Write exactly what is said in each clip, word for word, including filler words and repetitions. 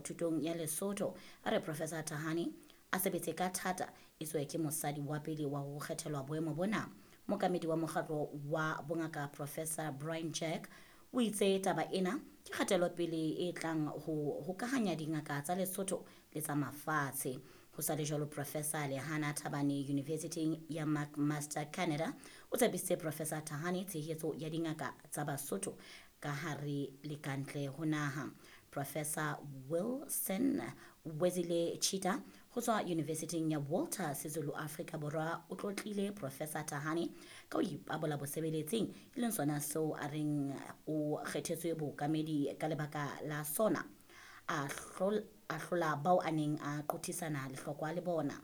Thutong ya Lesotho. A re Professor Thahane a sebetse ka thata, etswe ke mosadi wa pele wa ho kgethelwa boemo bona. Mookamedi wa mokgatlo wa bongaka Professor Brian Jack o itse taba ena ke kgatelopele e tlang ho hokahanya dingaka tsa Lesotho le tsa mafatshe. Ho sa le jwalo, Professor Lehana Thabane University ya McMaster Canada o tshepisitse Professor Thahane tshehetso ya dingaka tsa Basotho ka hare le kantle ho naha. Professor Wilson Wezile Chita ho tswa University ya Walter Sisulu Afrika Borwa o tlotlile Professor Thahane ka ho ipabola bosebeletsing, e leng sona seo a reng o kgethetswe bookamedi ka lebaka la sona, a hlola bao a neng a qothisana lehlokwa le bona.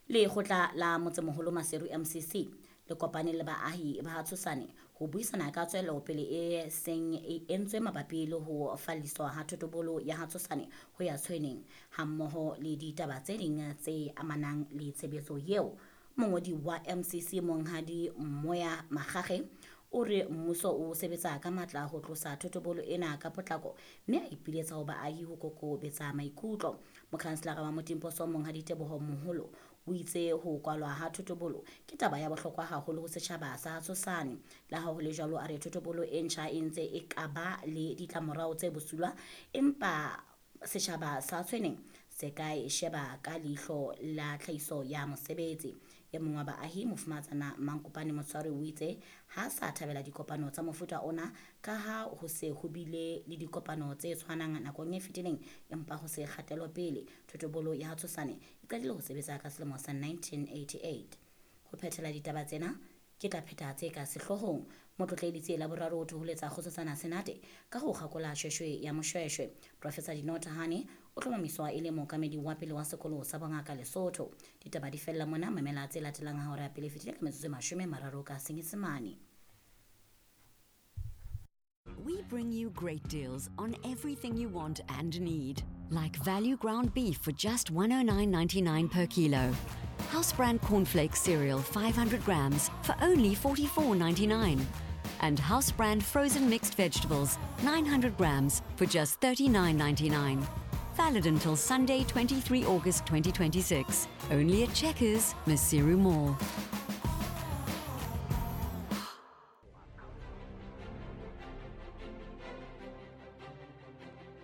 Lekgotla la Motsemoholo Maseru M C C le kopane le baahi ba Tshosane ho buisana ka tswelopele e seng e entswe mabapi le ho falliswa ha thotobolo ya Tshosane ho ya Tshweneng, hammoho le ditaba tse ding tse amanang le tshebetso eo. Mongodi wa M C C Monghadi Moya Makgakge o re mmuso o sebetsa ka matla ho tlosa thotobolo ena ka potlako, mme a ipiletsa ho baahi ho kokobetsa maikutlo. Mokhanselara wa Motimposo Monghadi Teboho Moholo o itse ho kwalwa ha thotobolo ke taba ya bohlokwa haholo ho setjhaba sa Tshosane. Le ha ho le jwalo, a re thotobolo e ntjha e ntse e ka ba le ditlamorao tse bosula, empa setjhaba sa Tshweneng se ka e sheba ka leihlo la tlhahiso ya mosebetsi. E mong wa baahi, Mofumahatsana Mankopane Motshwari, o itse ha sa thabela dikopano tsa mofuta ona ka ha ho se ho bile le dikopano tse tshwanang nakong e fetileng, empa ho se kgatelopele. Thotobolo ya Tshosane e qadile ho sebetsa ka selemo sa nineteen eighty-eight. Ho phethela ditaba tsena ke tla pheta tse ka sehloohong. Motlotlehi la boraro o thoholetsa Kgosatsana Senate ka ho kgakola shweshwe ya Moshweshwe. Professor Dineo Thahane o hlomamiswa e le mookamedi wa pele wa sekolo sa bongaka Lesotho. Ditaba di fella mona, mamela tse latelang ha hora ya pele e fetile ka metsotso e mashome mararo ka Senyesemane. We bring you great deals on everything you want and need, like value ground beef for just one oh nine ninety-nine per kilo. House brand cornflakes cereal five hundred grams for only forty-four ninety-nine. And house brand frozen mixed vegetables nine hundred grams for just thirty-nine ninety-nine. Valid until Sunday twenty-three August twenty twenty-six. Only at Checkers, Maseru Mall.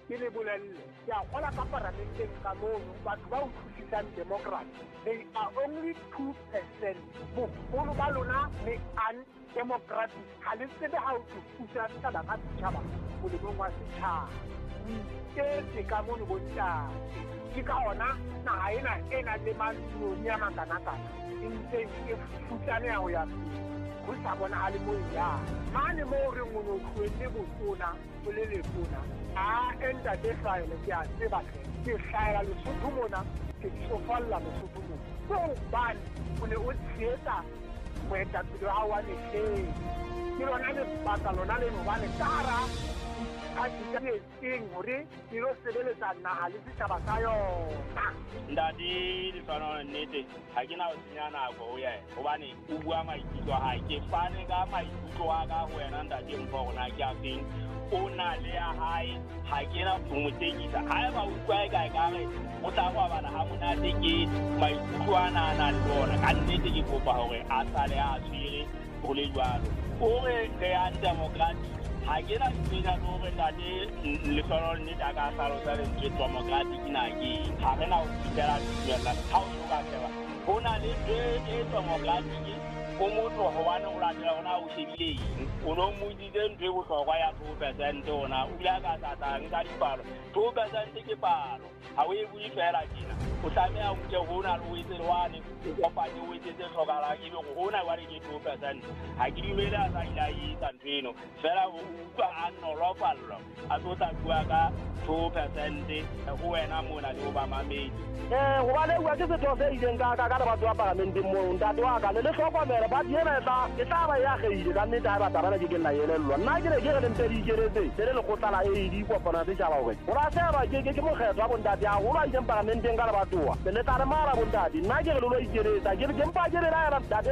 Ke le bolelle, ke a kgola ka paramenteng ka mono, batho ba utlwisisang democracy, they are only two percent. Boholo ba lona le undemocratic, ha le tsebe ha o tlo pusa setjhaba ka setjhaba molemong wa setjhaba. O iketse ka mono bontate. Ke ka hona naha ena e nang le matloni a makanakana e ntseng e futsaneha ho ya pele, ho sa bonahale moo e yang. Mane moo re reng o no tlohelle botona o le letona, a ntate hlahele, ke a tseba hle, ke hlahela Lesotho mona, ke tsofalla Lesotho mona. Ke hobane o ne o tshehetsa moetapele wa hao wa mehleng. Ke lona lebaka lona leno hobane ka hara diphathi tse etseng hore di lo sebeletsa naha le setjhaba sa yona. Ntate Lefano, nnete ha ke na ho senya nako ho yena, hobane o bua maikutlo a hae. Ke fane ka maikutlo a ka ho wena ntate Mpho, hore na ke a feng. O na le ya hae, ha ke na ho mo tekisa. Haeba o utlwa e kae ka re o tla robala ha monate, ke maikutlo ana a nang le ona. Ka nnete ke kopa hore a sale a tshwere ho le jwalo. O re re ya democratic, ha ke na tsena hore ntate Lefano nnete a ka hlalosa lentswe democratic na ke eng. Ha re na ho fihlela tumellano ha o so ka sheba ho na le ntho e democratic o motho hobane o latela hona o shebile eng. O no mmotsitse ntho e bohlokwa ya two percent hona, o bile a ka tlatla nka dipalo. Two percent ke palo, ha o e bue feela tjena. O tlameha o nke hona le o etse le wane, o kopanye o etse tse hlokahalang, ebe hore hona jwale ke two percent. Ha ke dumele a sa ile a etsa ntho eno, feela o utlwa a nolofallwa a tlo tla bua ka two percent ho wena mona le ho ba mamedi. Eh, hobane bua ke setho se ileng ka ka ka batho ba paramenteng moo, ntate wa ka le le hlokomele ba ena e tla e tla ba ya kgeile ka nnete ha ba taba na ke ke nna elellwa. Nna ke ne ke re le mpe le ikeletse le le lekgotla la A D kopano ya setjhaba hore ho ra sheba ke ke ke mokgetho wa bontate haholo a ileng paramenteng ka lebatowa. Le tla re mara bontate, nna ke re le lo ikeletsa, ke ke mpa ke le laela ntate.